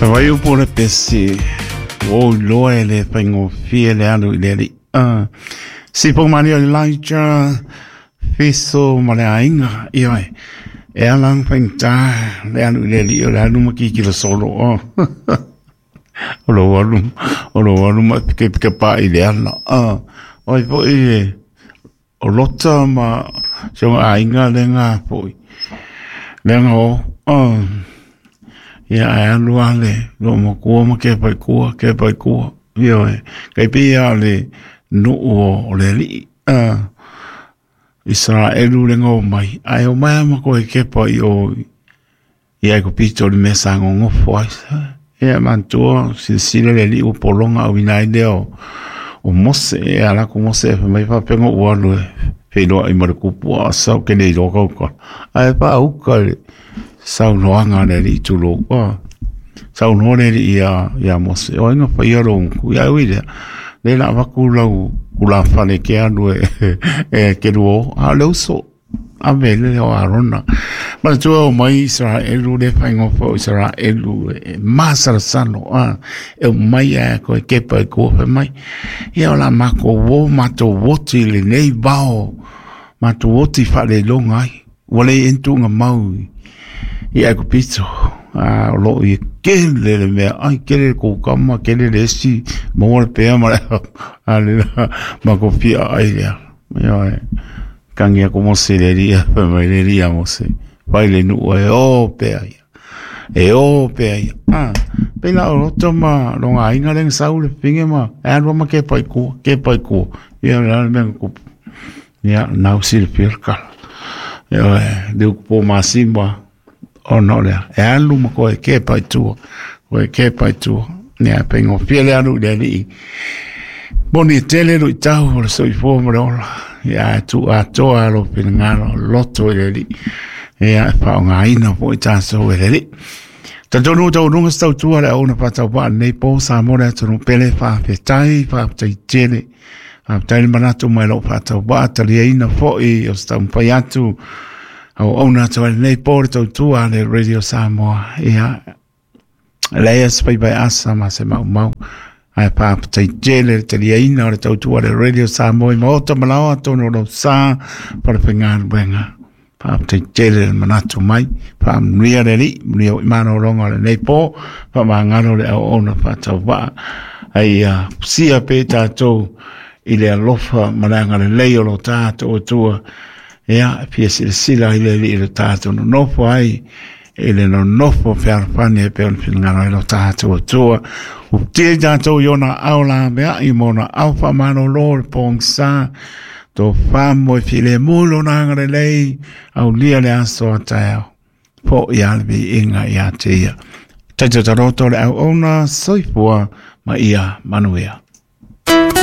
Fai upu o le pese, ua ou iloa e le faigofie le alu i le alii. Sipou malie o Elijah, Fiso ma le aiga, ioe. E ala ona faigata le alu i le alii o le alu ma kikilo solo. Oh. O lou alu, o lou alu ma pikepa'i i le ala. O ai foi e o Lota ma si ona aiga lea foi. Lea na o. Oh. Ia ae alu lava le loomatua ma kepa i tua, kepa i tua. Ioe, kai pei lava o le nuu o le alii. Isaraelu le na omai, ae omai lava ma toe kepa i o i Aikupito i le mea sa nonofo ai. Ia manatua silasila le alii ua pologa auina ai lea o Mose. E ala atu Mose e fai mai faapea na ou alu e feiloai ma le tupu a sau ke le iloa kau Ae faauka le saunoaga a le alii tulou. Saunoa le alii ia Mose, o ai na faia lou gutu? Ia ui lea, lea la avatu lau tulafale e te alu e te lua o, a o le uso. Ave le o Arona. Manatua o mai Israelu le faigofo o Israelu e masalasalo a e o mai a koe kepa i kua fai mai. Ia o la matou o matou oti i lenei vao matou oti faaleiloga ai. Ua le entuga mau i Aikupito. A o loo i kele le mea ai kele le kukama kele le esi maua le pea ma le a le ma ko fia ai lea. Ioe. Tangi aku Mose i le alii, fai mai le alii ia Mose, fai le nuu e o pea ia. E o pea ia. Ah, pei la o roto ma longa aiga le sau le pinge ma e alu ma ke pai kua, ke pai kua. Ia le le mea kupu. Ia nau sila pia le kala. Ia e le uku po masimba ona o lea. E alu ma koe ke pai tua. Koe ke pai tua. Ia pei ngofia le alu i le alii. Moni e tele luitau o le soifua ma le ola. Ia e tuu atoa lou finagalo loto i le Alii. Ia e faaaogaina foi tatou e le Alii. Talitonu ua taualuga se tautua le auauna faatauvaa lenei po Samoa le atunuu pele faafetai, faafetai tele. Faafetai le manatu mai lou faatauvaa taliaina foi o se taumafai atu auauna atu ai lenei po le tautua a le Radio Samoa. Ia leai se faiva e asa ma se maumau. Ae faafetai tele le taliaina o le tautua a le Radio Samoa i maota ma laoa atonu o lou sa falefaigaluega. Faafetai tele le manatu mai, faamanuia le Alii, manuia foi malologa o lenei po, faamagalo le auauna faatauvaa, a ia fusia pea i tatou i le alofa ma le agalelei o lo tatou Atua. Ia, e fia silasila ai le Alii i lo tatou nonofo ai, i le nonofo fealofani e pei ona finagalo ai lo tatou Atua. Ua tia i tatou i ona ao laveai ma ona ao faamalolo o le pogisa, tofa moe filemu i lona agalelei, aulia le aso a taeao, fo'i lava le viiga ia te ia. Taito taroto le auauna, soifua ma ia manuia.